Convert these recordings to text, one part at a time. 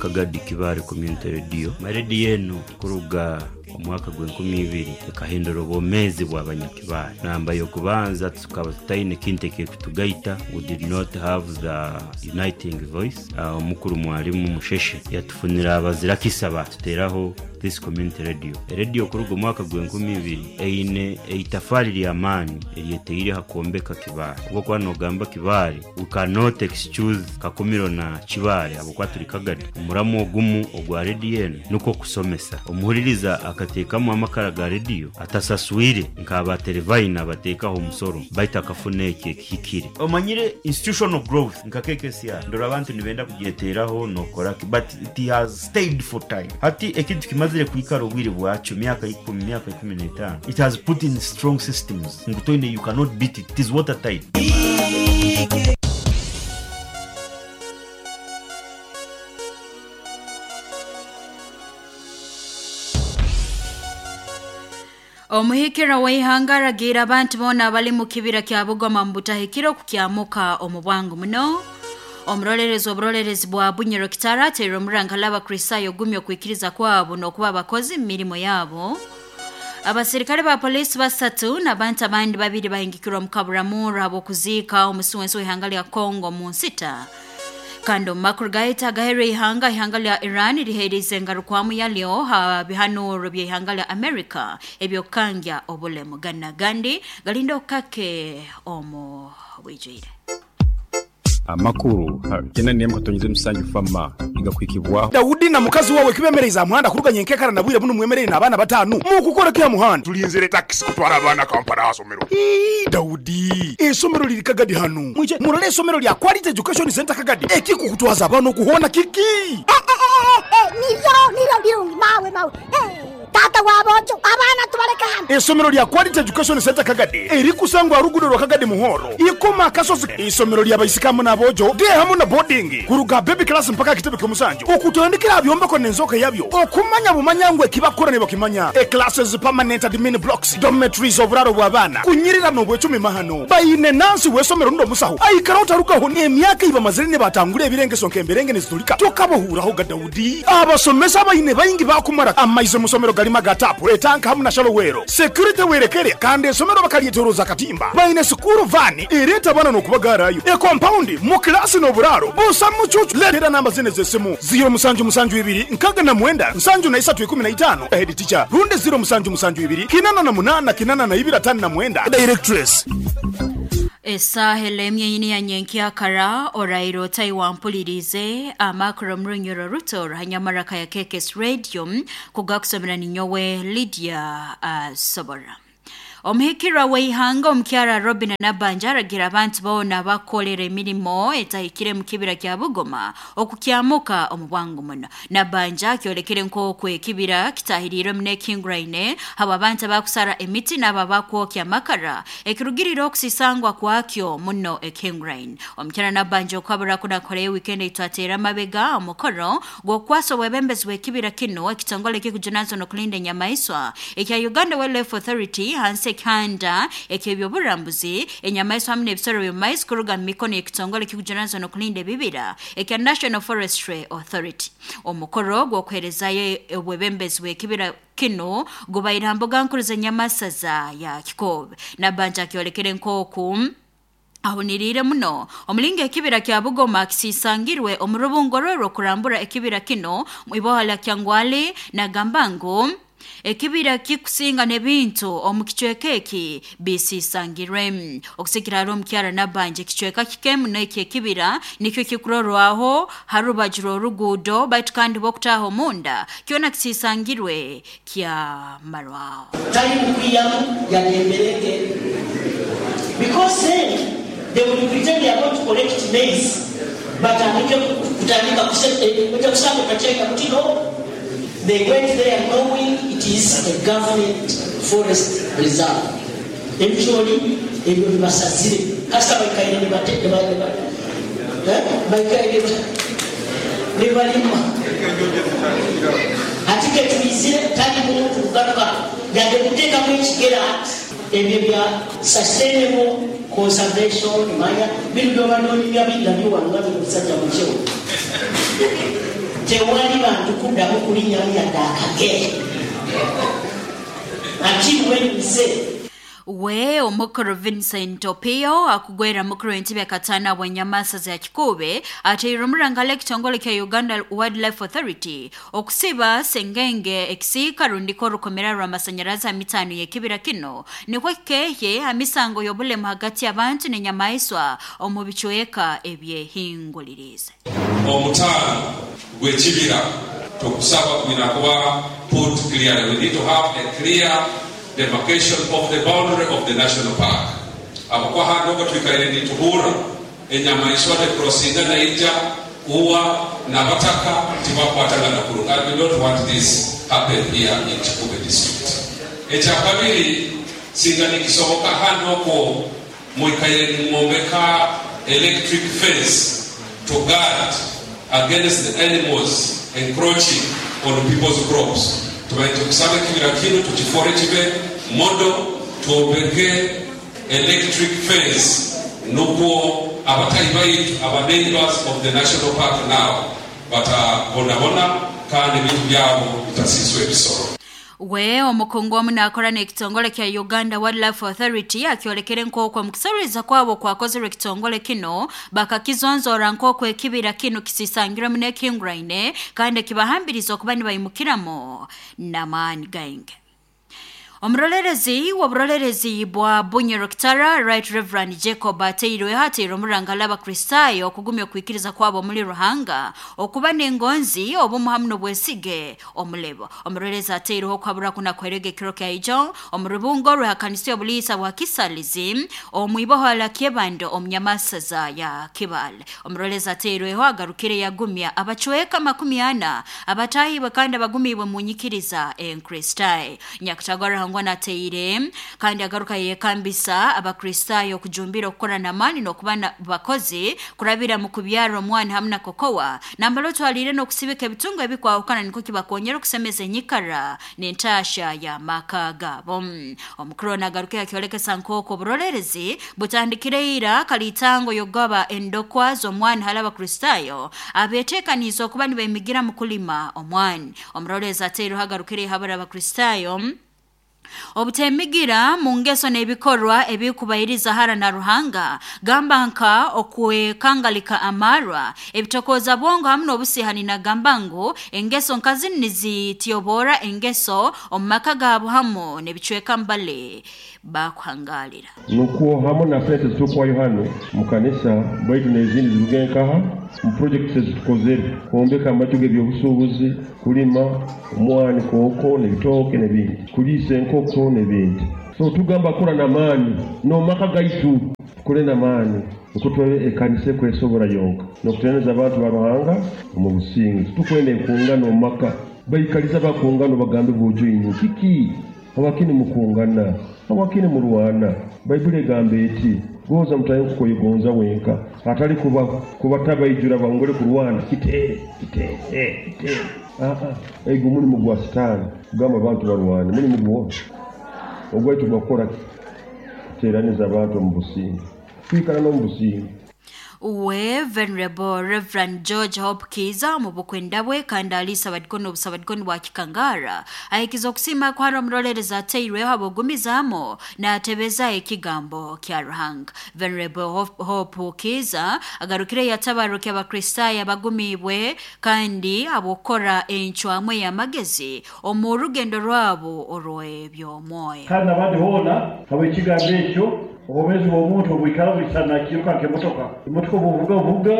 Kagadi Kibaale Community Radio. Rediyo enu kuruga omwaka gw'enkumi ibiri ekahindura obwomeezi bw'abanyakibaale. Namba y'okubanza tukaba tutaine kintu ekirikutugaita, we did not have the uniting voice. Omukuru Mwalimu Musheshe yatufunira abazirakisa baatuteraho this community radio. Erediyo kuruga omwaka gw'enkumi ibiri eine eitafaari ly'amaani eryetaire ha kwombeka Kibaale. Obwokuba nogamba Kibaale, we cannot excuse Kakumiro na Kibaale habwokuba turi Kagadi. Omuramwa ogumu ogwa rediyo enu nukwo kusomesa. Omuhuririza akateekamu amakara ga rediyo atasaswire nk'aba Terevayini abateekaho omusoro baitu akafuna ekyo ekihikire. Omanyire institutional growth nka KKCR ndora abantu nibenda kugyeteraho nokoraki but it has stayed for time. Hati ekintu kimazire kwikara obwire bwakyo myaka ikumi, myaka 15 it has put in strong systems ngu toine you cannot beat it, it is water tight. Omuhikira w'ihanga aragiire abantu boona abali mu kibira kya Bugoma mu butahikire okukyamuka omu bwangu muno. Omurolerezi oburolerezi bwa Bunyoro Kitara ateerire omuranga hali Abakristaayo ogumya okwikiriza kwabo n'okuba abakozi mu mirimo yabo. Abasirikale ba poliisi basatu n'abantu abandi babiri bahingikirwe omu kaburamurro habw'okuziika omusi w'ensi w'ihanga lya Congo mu nsita. Kandi omu makuru gaitu agaheerwa ihanga, ihanga lya Iran liheeriize engarukwamu yalyo ha bihanuuro by'ihanga lya America eby'okukangya obulemu. Ganu n'agandi galinde okukake omu bwijwire. Amakuru ha kyenda n'emu katonyeza omusanju FAMA nigakuhikibwaho. Daudi na mukazi wawe kibemereize aha muhanda kuruga nyenkekara na bwire bunu mwemereire n'abaana bataanu. Mukukora ki aha muhanda? Tulinzire takisi kutwara abaana Kampala aha somero. Ii, Daudi, eisomero liri Kagadi hanu. Mwije murole eisomero lya Quality Education Centre Kagadi. Ekikukutwaza abaana okuhoona kiki? Niryo, niryo birungi, mawe, mawe. Taata w'aboojo, abaana tubaleke hanu. Eisomero lya Quality Education Centre Kagadi erikusangwa aha ruguudo rwa Kagadi Muhoro, Ikoma Akasozi. Eisomero lya baisiki hamu n'aboojo, day hamu na boarding, kuruga aha baby class mpaka aha kitebe ky'omusanju, okutandikira aha byombeko n'enzooka yabyo, okumanya bumanya ngu ekibakukora nibakimanya. E Classes, permanent admin blocks, dormitories, oburaaro bw'abaana, kunyirira n'obwecumi mahano. Baine nansi w'eisomero rundi omusaho aikara otarugaho n'emyaka ei bamazire nibatangura ebirengeso nk'emberenge nizitulika tokabahuurahoga Daudi. Abasomesa abaine baingi baakumara amaizi omu somero garimu aga taapu, etanka hamu na shalowero. Security werekere kandi esomero bakaryetoroza akatimba. Baine sikuuru vaani ereeta abaana n'okubagaarayo. Ekompaundi mu kilaasi n'oburaaro busa mucuucu. Leetera namba zinu ez'esimu, ziiro musanju musanju ibiri nkaga na mwenda nsanju na isatu ikumi na itaano, Head teacher, rundi ziiro musanju musanju ibiri kinana na munaana kinana na ibiri atano na mwenda, Directress. Esaaha elemye nyini ya nyenkyakara oraire otai wampuliriize amakuru omu runyoro ruto ruhanyamaraka ya KKS Radio kugakusomera ninyowe Lydia Sobora. Omuhikirwa w'ihanga omukyara Robin Nabanja aragira abantu boona abakukolera emirimo etahikire mu kibira kya Bugoma okukyamuka omu bwangu muno. Nabanja akyolekere nk'oku ekibira kitahiriirwe muno ekihinguraine habw'abantu abakusara emiti n'abo abakwokya amakara ekirugirire okusisangwa kwakyo muno ekihinguraine. Omukyara Nabanja okuhabura kunu akoreyo wiikendi eitwateera amabega omukoro gw'okukwasa obwebembezi bw'ekibira kinu ekitongole ekikujunaanizibwa n'okulinda enyamaiswa ekya Uganda Wildlife Authority hansi ekihanda eky'ebyoburambuzi enyamaiswa hamu n'ebisoro by'omu maizi kuruga mu mikono y'ekitongole ekikujunaanizibwa n'okulinda ebibira ekya National Forestry Authority. Omukoro gw'okuheerezayo obwebembezi bw'ekibira kinu gubaire ha mbuga nkuru z'enyamasaza ya Kikoobe. Nabanja akyolekere nk'oku ahuniriire muno omulingo ekibira kya Bugoma kisisangirwe omu rubungo rwe rw'okurambura ekibira kinu mu iboha lya Kyangwali nagamba ngu ekibira kikusinga n'ebintu omu kicweka eki bisisangirwe. Okusikira hali omukyara Nabanja ekicweka kike muno eky'ekibira nikyo kikurorwaho ha rubaju rw'oruguudo baitu kandi bw'okutaaha omunda kyona kisisangirwe kyamarwaho. Tali kukwiyamu yadde emberenge because then they will pretend they are going to collect maize batandike kutandika oja kusanga otakyenda buti no they went there knowing it is a government forest reserve ebicooli ebyo bibasazire kasita baikaire baikaire nibalima hati ketwizire tali muntu kugaruka yadde kuteekamu ekigera ati ebyo bya sustainable conservation manya bino byobadde onyumya bidda biwano nga biri musajja mukyewo. Tewali bantu kuddamu kulinnyamu yadde akagere until when we say We omukuru Vincent Opio akugwera mukuru w'entebe katana bw'enyamasa za Kikube ateire omurangala ekitongole kya Uganda Wildlife Authority okusiba sengenge ekisiika rundiko orukomera rw'amasanyarazi amitano y'ekibira kino nikwo kikehye amisango y'obulemu hagati y'abantu n'enyamaiswa omu bicweka ebyehingulirize. Omutaano gw'ekibira tokusaba kwina kuba put clearly. We need to have a clear demarcation of the boundary of the national park. Abakuba handi okwo twikaire nituhurra enyamaiswa tekurosinga naija uwa n'abataka tibakwatagana kurungi. And we don't want this happen here in Kikube district. Ekyakabiri, singa nikisoboka handi okwo mwikaire nimwombeka electric fence to guard against the animals encroaching on people's crops. Tubaite kusaba ekibira kinu tukifore kibe modo, twombeke electric fence nukwo abatayi baitu, aba neighbors of the national park now batabonabona kandi ebintu byabo bitasiswa ebisoro. We omukungu omu nakora n'ekitongole kya Uganda Wildlife Authority akyolekere nk'okwo mukusoreza kwabo kwakozerwe ekitongole kino bakakizonzora nk'okwo ekibira kino kisisangirwemu n'ekihinguraine kandi kibahambiriza okuba nibayimukiramu n'amaani gaingi. Omurolerezi w'oburolerezi bwa Bunyoro Kitara Right Reverend Jacob ateirwe hateire omurangala abakristayo okugumya okwikiriza kwabo muri Ruhanga okuba n'engonzi obumu hamu n'obwesige omulebo. Omurolerezi ateireho okuhabura kuna kwerega ekiro kya ijo omu rubungo rw'ekanisa y'obuliisa bwa Kisalizi omwiboho Kyebando omunyamasaza ya Kibale. Omurolerezi ateirweho agarukire yagumya abacweka 40 abatahibwe kandi abagumibwe mu nyikiriza enkristayo. Nyakutagara nateire kandi agaruka yekambisa abakristayo kujumbira okukora n'amaani n'okuba bakozi kurabira mu kubyara omwana hamwe na kokowa nambalo twalire n'okusibika ebitungo ebikwahukana niko kibakonyera okusemeza enyikara n'entasha ya maka gabo. Omukuru nagaruka yakyolekesa nk'okwo oburolerezi butandikire ira kalitango yogaba endokwa z'omwana hali abakristayo abeteekaniize okuba nibemigira mu kulima omwana. Omurolerezi ateireho agarukire habura abakristayo obutemigira mu ngeso n'ebikorwa ebikubairiza hara na Ruhanga gamba nka okwekangalika amarwa ebitokoza bongo hamwe n'obusihani nagamba ngu engeso nkazi nizitiyobora engeso omu maka gabo hamwe n'ebicweka mbale bakuhangalira. Nukwo hamwe na sente zitukuwayo hano mu kanisa baitu n'ezindi ziruga nkaha mu projects ezitukozere kwombeka amaju g'ebyobusuubuzi, kulima omwani, kooko n'ebitooke n'ebindi, kuliisa enkoko n'ebindi. So tugamba kura n'amaani n'omaka gaitu tukore n'amaani nukwo turabe ekanisa ekwesobora yonka n'okuteraniriza abantu ba Ruhanga omu businge. Tukwenda enkungano omu maka, baikaliza bakungano bagambe bwojo inyu kiki hawakini mukungana, hawakini murwana. Baibuli egamba eti goza mutaye kukoyigonza wenka atali kuba tabaijura bangole kurwana kitere kitere kitere. Ego mulimu gwa sitaani kugamba abantu barwane, mulimu gwo ogwaitu gwakora kuteraniza abantu omu businge, kwikara n'omu businge. Uwe Venerable Reverend George Hope Kiza mu bukwenda bwe kandi alisa abadikoni obusabadikoni bwa Kikangara ahikiza okusima kwara omurolerezi ateirweho abogumizamo n'atebeza ekigambo kya Ruhanga. Venerable Hope Kiza agarukire yatabaruka abakristayo abagumibwe kandi abokora encwamwe y'amagezi omu rugendo rwabo orw'eby'omwoyo. Kandi abandi hoona habw'ekigambo ekyo obwomeezi bw'omuntu obwikara bwisana nakiruka nk'emotoka. Emotoka obuvuga vuga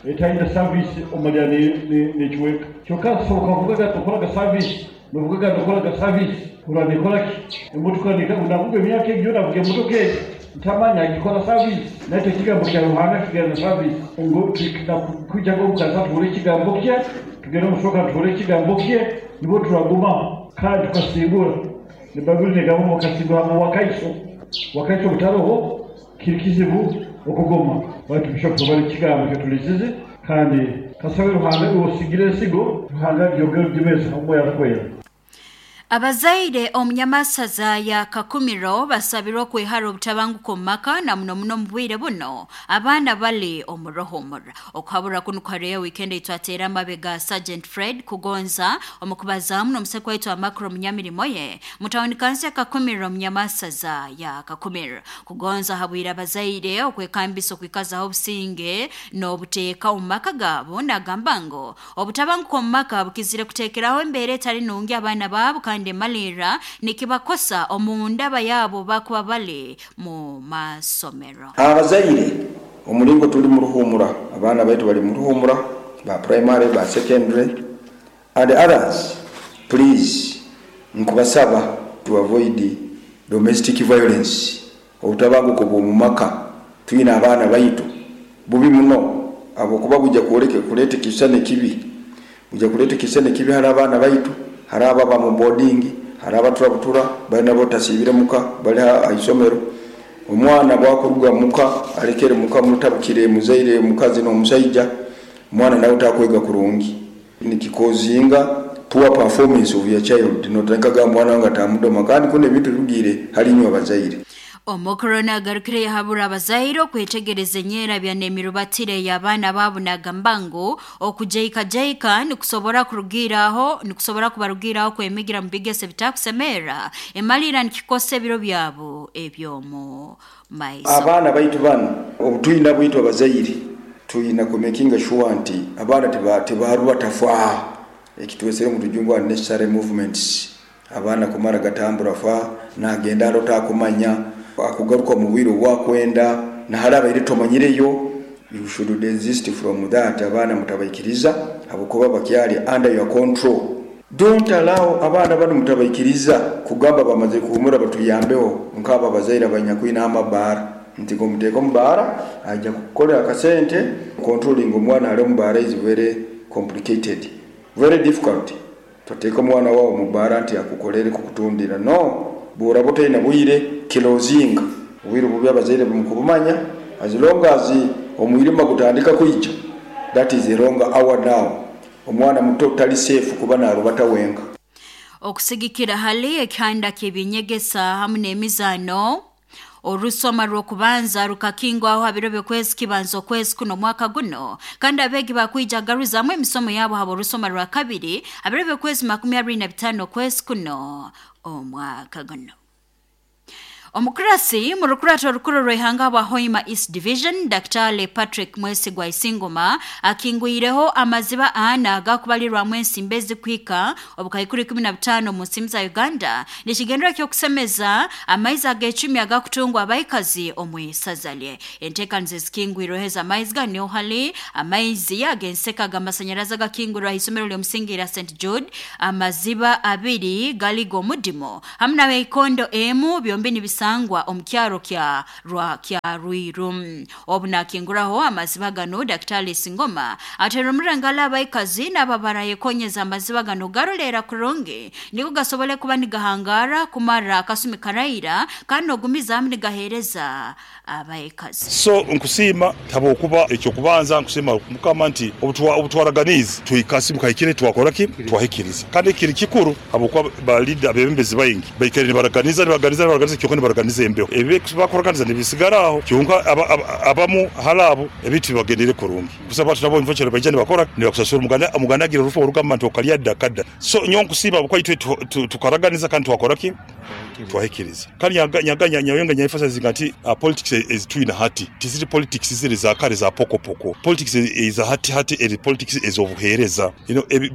etaine service omalira nekiweka. Kyokka soboka vugaga tokoraga service, novugaga nokoraga service, ura nekoraki? Emotoka navuga emyaka egyo navuga emotoka egi ntamanya agikora service. Naitwe ekigambo kya Ruhanga kigenda service. Ngu kwijja omukanisa tuhure ekigambo kye, tugende omushoka tuhure ekigambo kye, nibwo turagumaho kandi tukasingura. Ne Baibuli negamba mukasingura mu wakaiso. Wakati obutaroho kiri kizibu okugoma. Baitu bishop tubali kigambo kyetulizize kandi kasabe Ruhanga osigire ensigo Ruhanga byogere byemeza omwoyo akwera. Abazaire omunyamasaza ya Kakumiro basabirwa okwehara obutabanguko mu maka na muno muno mu bwire buno abaana bali omu ruhumura. Okuhabura kunu kuhareyo weekend eitwateera amabega Sergeant Fred Kugonza omukubazaamu n'omusekwa waitu amakuru omunyamirimo ye mutawuni kansi ya Kakumiro omunyamasaza ya Kakumiro. Kugonza habwire abazaire okwekambisa okwikazaho obusinge n'obuteeka omu maka gaabo, nagamba ngu obutabanguko omu maka bukizire kuteekeraho embeera etali nungi abaana baabo kandi emalirra nikibakosa omu ndaba yaabo bakuba bali mu masomero. Abazaire omulingo tuli mu ruhumura, abaana baitu bali mu ruhumura ba primary, ba secondary and others, please nkubasaba to avoid domestic violence, obutabanguko bw'omu maka. Twine abaana baitu bubi muno habwokuba bujja kwoleka kuleeta ekisisani ekibi, bujja kuleeta ekisisani ekibi hali abaana baitu. Hari abo aba mu boarding, hari abaturabutura bali nabo tasiibire muka, bali ha isomero. Omwana bwakuruga muka alekere muka mutabukire muzaire omukazi n'omusaija, omwana nawe takwega kurungi, nikikozinga poor performance of your child. Notandika mwana wange atamudoma, kandi kuno ebintu birugiire hali inywe abazaire. Omukuru nagarukire yahabura abazaire okwetegereza enyerabya n'emirubatire y'abaana baabo, nagamba ngu okujaikajaika nikusobora kubarugiraho kwemigira mu bigeso ebitakusemerra, emalira nikikosa ebiro byabo eby'omu maiso. Abaana baitu banu obutwina bwitu abazaire twina kumakinga sure nti abaana tibarubata fa, ekitwesere mu rujungu unnecessary movements. Abaana kumara gatambura fa, nagenda arota akumanya akugaruka mu bwire obwakwenda nahali abaire tomanyireyo. You should desist from that. Abaana mutabaikiriza habwokuba bakyali under your control. Don't allow abaana bano, mutabaikiriza kugamba bamaze kuhumura batuyambeho nk'abo abazaire abanyakwina amabaara nti ngomuteeka omubaara ajja kukukolera akasente. Controlling omwana ali omubaara is very complicated, very difficult. Toteeka omwana wawe mubaara nti akukolere kukutundira. No bworaba otaina bwire, closinga obwire bubi. Abazaire mukubumanya, as long as omwirima gutandika kwija, that is a wrong hour. Now omwana muto tali safe kuba narubata wenka. Okusigikira hali ekihanda ky'ebyenyegesa hamu n'emizaano, orusoma rw'okubanza rukakingwaho ha biro by'okwezi kibanza okwezi kuno omwaka guno, kandi abeegi bakwija garuzamu emisomo yabo haba orusoma rwa kabiri ha biro by'okwezi 25 okwezi kuno omwaka guno. Omukurasi mu rukurato orukuru rw'ihanga bwa Hoima East Division, Dr. Patrick Mwesigwa Isingoma, akingwireho amaziba ana agakubalirwamu ensimbi ezikuhika obukaikuru 15 mu nsimbi za Uganda, nikigendera ky'okusemeza amaizi ag'ecumi agakutungwa abaikazi omu isaza lye. Enteekaniza ezikingwirweho ez'amaizi gano hali amaizi ag'enseka ag'amasanyarazi agakingwirwe aha isomero ly'omusingi lya St Jude, amaziba abiri gali g'omudimo hamu n'abeikondo emu, byombi nibisangwa omu kyaro kya rwa kya Rwiru. Obu nakinguraho amaziba gano, Daktari Singoma atera omurangala abaikazi n'ababarayekonyeza amaziba gano garoleera kurungi niko gasobole kuba nigahangara kumara akasumi karaira kandi n'ogumizaamu nigaheereza abaikazi. So nkusiima habwokuba ekyokubanza nkusiima Mukama nti obutwaraganiize twikasi mukahikire twakora ki twahikiriza, kandi kiri kikuru habwokuba ba leader abebembezi baingi baikaire nibaraganiza nibaraganiza nibaraganiza, kyonka nibaraganiza embeho, ebi bakuraganiza nibisigara aho. Kyonka abamu hali abo ebintu bibagendere kurungi kusaba abantu nabo nvakira baija nibakora nibakusasura. Omuganda agira orufu orugamba nti okalya dda kadda. So nyowe nkusiima habwokuba itwe tukaraganiza kandi twakora ki twahikiriza. Kandi nyaga nyawenga nyaemphasizinga nti politics ezitwine hati tiziri politics ziri za kare za pokopoko. Politics eza hati hati eri politics ez'obuheereza.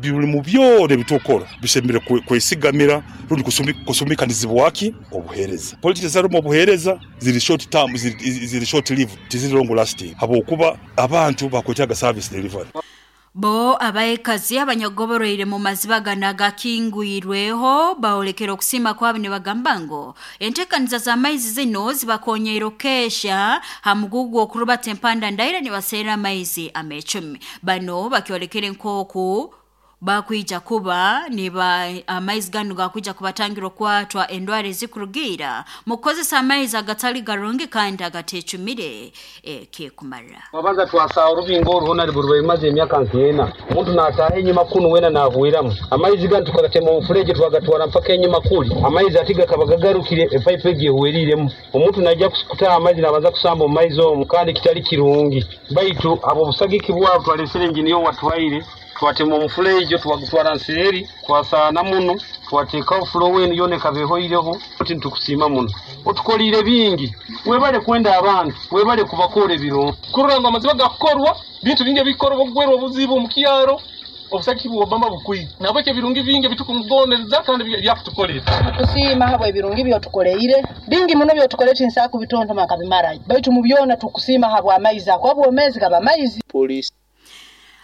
Buli mu byona ebitukora bisemere kwesigamira rundi kusumikanizibwa ki obuheereza. Politics ezitarimu obuheereza ziri short term, ziri short lived, tiziri long lasting, habwokuba abantu bakwetaaga service delivery. Bo abaikazi abanyagoboroire mu maziba gano agakingwirweho bawolekera okusiima kwabo nibagamba ngu enteekaniza z'amaizi zino zibakonyeire okukesha ha mugugu okurubata empanda ndaira nibaseera amaizi amecumi. Bano bakyolekere nk'oku Bakwija kuba niba amaizi ganu gakwija kubatangira okwatwa endwara ezikurugiira mu kukozesa amaizi agatali garungi kandi agatecumire ekikumara. Twabanza twasaba orubingo oruhona riburi imaze emyaka nk'ena, omuntu nataha enyuma kunu wena nahwiramu amaizi ganu, tukagatema omufureje twagatwara mpaka enyuma kuli, amaizi ati gakaba gagarukire epaipu egi ehweriremu. Omuntu najja kutaha amaizi nabanza kusamba omu maizi omu, kandi kitali kirungi. Baitu abo obusagiki bwabo twalesere engineer watwaire, twatema omufurejo twagutwara nseeri, twasaana muno, twateekaho flow enu yoona ekaba ehoireho. Oti nitukusiima muno, otukoliire bingi, webale kwenda abantu, webale kubakora ebirungi. Kurora ngu amazima gakukorwa, bintu bingi ebikorwa, obugwerwa obuzibu omu kyaro, obusagiki bwa Obama bukwiire nabwekyo ebirungi bingi ebitukumugondeza kandi byakutukolera. Tukusiima habwa ebirungi byotukoleire bingi muno, byotukolere tinsobola kubitontoma nkabimara, baitu mu byona tukusiima habwa amaizi ako, obwomezi gaba maizi. Police.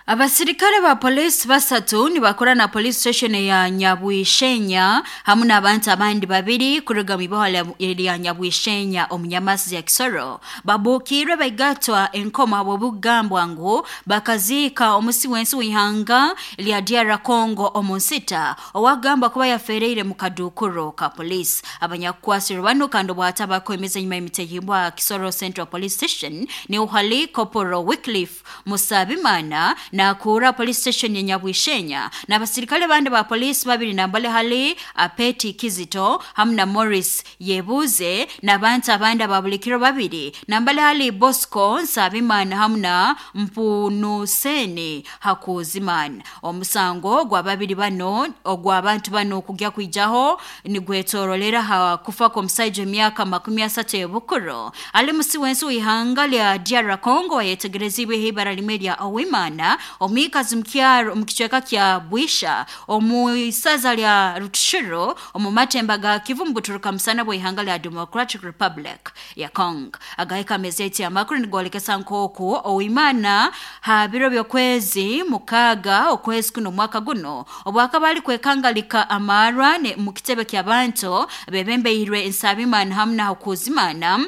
Abasirikale ba polisi basatu nibakora na police station ya Nyabwishenya hamu n'abantu abandi babiri kuruga mu iboha lya Nyabwishenya omu Nyamasi ya Kisoro babukirwe baigatwa enkomo habw'obugambwa ngu bakaziika omusi w'ensi w'ihanga lya DR Congo omu nsita owagamba kuba yafereire mu kadukuro ka polisi. Abanyakukwasirwe bano kandi obwata bakwemeza enyuma y'emitehimbwa Kisoro Central Police Station ni uhali Corporal Wycliffe Musabimana nakura police station ya Nyabwishenya n'abasirikale bandi ba polisi babiri nambale hali Apeti Kizito hamu na Morris Yebuze n'abantu abandi ababulikiro babiri nambale hali Bosco Nsabimana hamu na Mpunuseni Hakuzimana. Omusango gwa babiri bano ogw'abantu bano kugya kwijaho nigwetorolera ha kufa kw'omusaija emyaka 30 y'obukuru ali musi w'ensi w'ihanga lya DR Congo wayetegerezibwe ibara limwe lya Owimana omwikazi mukyaro mukicweka kya Bwisha omu isaza lya Rutshuru omu matemba ga Kivu mubuturuka musana bw'ihanga lya Democratic Republic ya Congo. Agahika amezeti amakuru nigolekesa nkoku Owimana ha biro by'okwezi 6 okwezi kuno mwaka guno obwakaba ali kwekangalika amarwa ne mu kitebe ky'abantu bebembeirwe Nsabimana hamu na Hakuzimana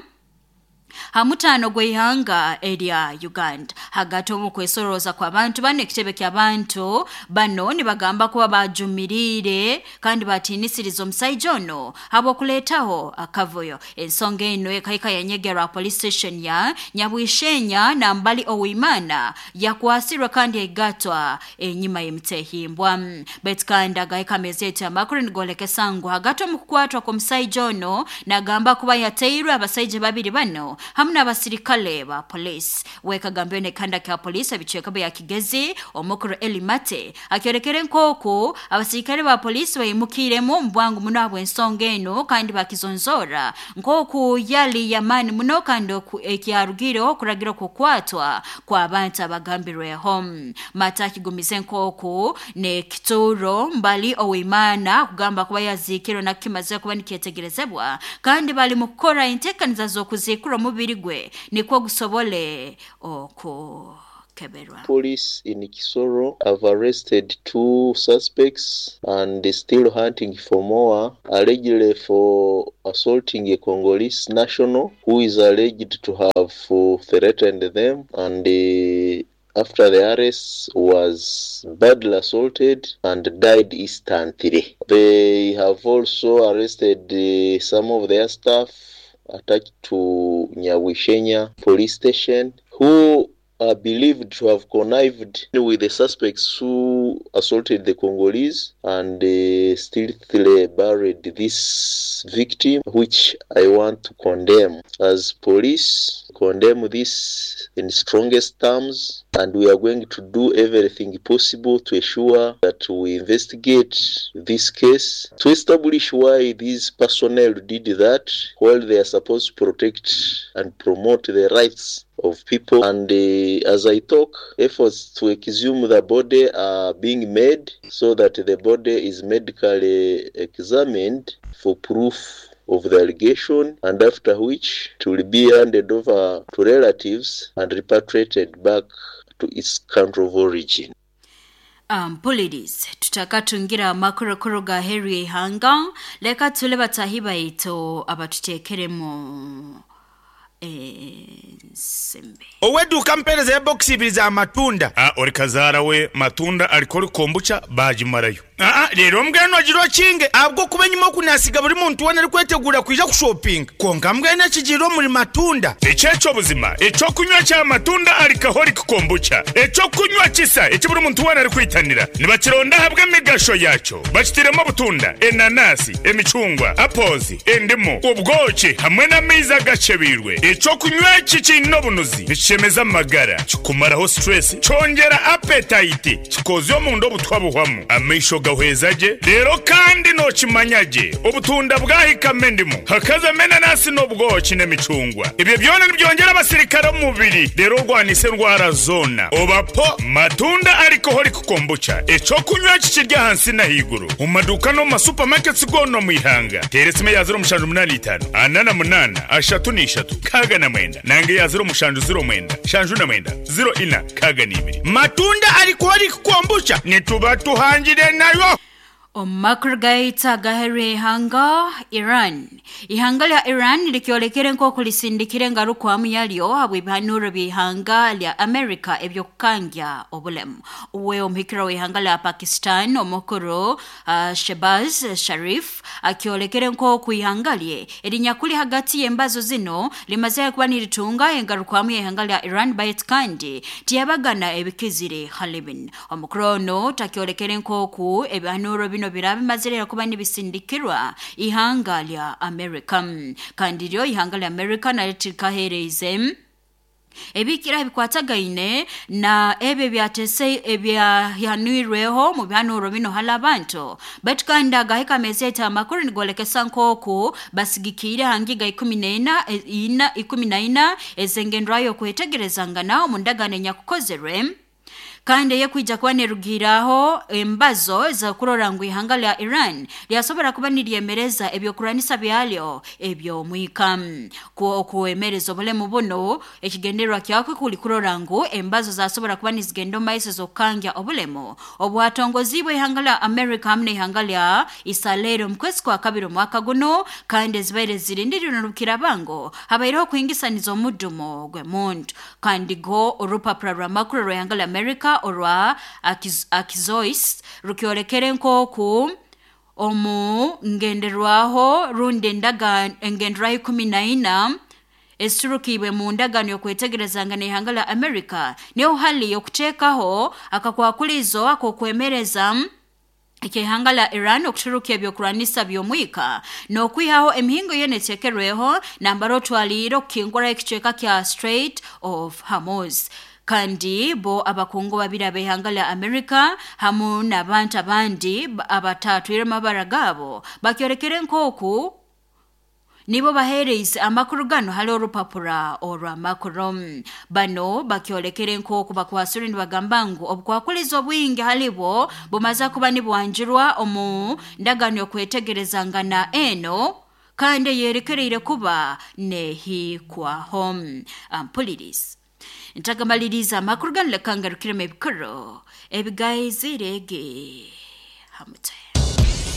hamutano gw'ihanga erya Uganda. Hagati omu kwesoroza kw'abantu bano ekitebe ky'abantu bano nibagamba kuba bajumirire kandi batiinisiriza omusaija ono habw'okuleetaho akavuyo. Ensonga eno ekahika yanyegerwa police station ya Nyabwishenya nambali Owimana yakwasirwe kandi yaigatwa enyuma y'emitehimbwa. Baitu kandi agahika amezeti amakuru nigolekesa ngu hagati omu kukwatwa kw'omusaija ono nagamba kuba yateirwe abasaija babiri bano hamu n'abasirikale ba polisi. Wekagambwe nekanda kya polisi ebicweka bya Kigezi omukuru Elimate akyorekere nkoku abasirikale ba polisi bayimukiremu mbwangu muno habw'ensonga eno kandi bakizonzora nkoku yali yamani muno kandi ekyarugireho okuragira okukwatwa kw'abantu abagambirweho. Mata akigumize nkoku nekituro mbali Owimana kugamba kuba yazikirwe nakimaze kuba nikyetegerezebwa kandi bali mu kukora enteekaniza z'okuzikura omubiri gwe nikwo gusobole okukeberwa. Police in Kisoro have arrested 2 suspects and still hunting for more, allegedly for assaulting a Congolese national who is alleged to have threatened them, and after the arrest was badly assaulted and died instantly. They have also arrested some of their staff attached to Nyawishenya police station who are believed to have connived with the suspects who assaulted the Congolese and stealthily buried this victim, which I want to condemn. As police, condemn this in strongest terms, and we are going to do everything possible to ensure that we investigate this case to establish why these personnel did that while they are supposed to protect and promote the rights of people. And as I talk, efforts to exhume the body are being made so that the body is medically examined for proof of the allegation, and after which it will be handed over to relatives and repatriated back to its country of origin. Mpulirize tutakatungira amakuru ga heru y'ihanga, leka tule batahi baitu abatutekeremu Ensimbi. Ow'eduuka mpeereza ya bokisi ibiri za matunda. A Ori kazaara we matunda alcoholic kombucha baagimarayo. Aa Reero mbwenu ogira okinge ahabw'okuba enyima oku naasiga buri muntu weena arikweteguura kwija kushopinga. Kwonka mbwenu ekigiire omuri matunda. Eki eky'obuzima eky'okunywa kya matunda alcoholic kombucha, eky'okunywa kisa eki buri muntu weena arikwitanira. Nibakironda ahabw'emigasho yaakyo. Bakitairemu obutunda, enanasi, emicungwa, apples, endimu, obwoki hamwe n'amaizi agakyebeirwe. Eky'okunywa eki kiine obunuzi, nikishemeza amagara, kikumaraho stress, kyongyera appetite, kikoozya omunda obutwa buhwamu, amaisho gahweza gye, reero kandi nookimanya gye obutunda bwahikamu endimu, hakazamu enanasi n'obwoki n'emicungwa. Ebyo byona nibyongyera abasirikare omu mubiri reero orwanise endwara zoona. Oba po Matunda Alcoholic Kombucha, eky'okunywa eki kiri ahansi n'ahaiguru omu maduuka n'omu ma supermarkets goona omu ihanga. Teera esimu eya 0785 48 33 69 nanga eya 0709 79 04 62. Matunda Alcoholic Kombucha nituba tuhangire nayo. Omu makuru gaitu agaheru y'ihanga Iran. Ihanga lya Iran likyolekere nk'oku lisindikire engarukwamu yalyo habw'ebihanuro by'ihanga lya America eby'okukangya obulemu. Uwe omuhikirwa w'ihanga lya Pakistan omukuru Shehbaz Sharif akyolekere nk'oku ihanga lye erinyakuli hagati y'embazo zinu limazire kuba niritunga engarukwamu y'ihanga lya Iran baitu kandi tiyabagana ebikizire hali binu. Omukuru onu takyolekere nk'oku ebihanuro binu biraba bimazire kuba nibisindikirwa ihanga lya America. Kandi ryo ihanga lya America naryo tirikaheereize ebikira ebikwatagaine na ebyo ebyatese ebyahanwirweho mu bihanuro binu hali abantu. Baitu kandi agahika ameezi eti amakuru nigolekesa nk'oku basigikiire ha ngiga 14 ezengendwayo okwetegerezangana omu ndagaano enyakukozerwe kandi eyekwija kuba nerugiiraho embazo ez'okurora ngu ihanga lya Iran lyasobora kuba niryemereza ebyokurwanisa byalyo eby'omwika. Okwemereza obulemu buno ekigendererwa kyakwe kuli kurora ngu embazo zasobora kuba nizigenda omu maiso ez'okukangya obulemu obwatongoziibwe ihanga lya America hamu n'ihanga lya Isaleeri omu kwezi kwa kabiri omwaka guno kandi ezibaire zirindirirwe n'orukirabango habaireho okuhingisaniza omudumo gw'emuntu. Kandi go orupapura rw'amakuru rw'ihanga lya America orwa Axios rukyolekere nk'oku omu ngenderwaho rundi engenderwaho 14 eziturukiibwe mu ndagaano y'okwetegerezangana ihanga lya America niho hali okuteekaho akakwakulizo ak'okwemereza eky'ihanga lya Iran okuturuka ebyokurwanisa by'omwika n'okwihaho emihingo yoona eteekerweho nambara otwaliire okukinguraho ekicweka kya Strait of Hormuz. Kandi bo abakungu babiri ab'ihanga lya America hamu n'abantu abandi abatatwire amabara gaabo bakyolekere nk'oku nibo baheereize amakuru ganu hali orupapura orw'amakuru. Bano bakyolekere nk'oku bakwasire nibagamba ngu obukwakulizo obwingi halibo bumaze kuba nibwanjurwa omu ndagaano y'okwetegerezangana eno kandi eyerekereire kuba neehikwaho. Ampulirizi. Ntakamaliriza amakuru ganu leka ngarukiremu ebikuru ebigaizirege ha mutwe.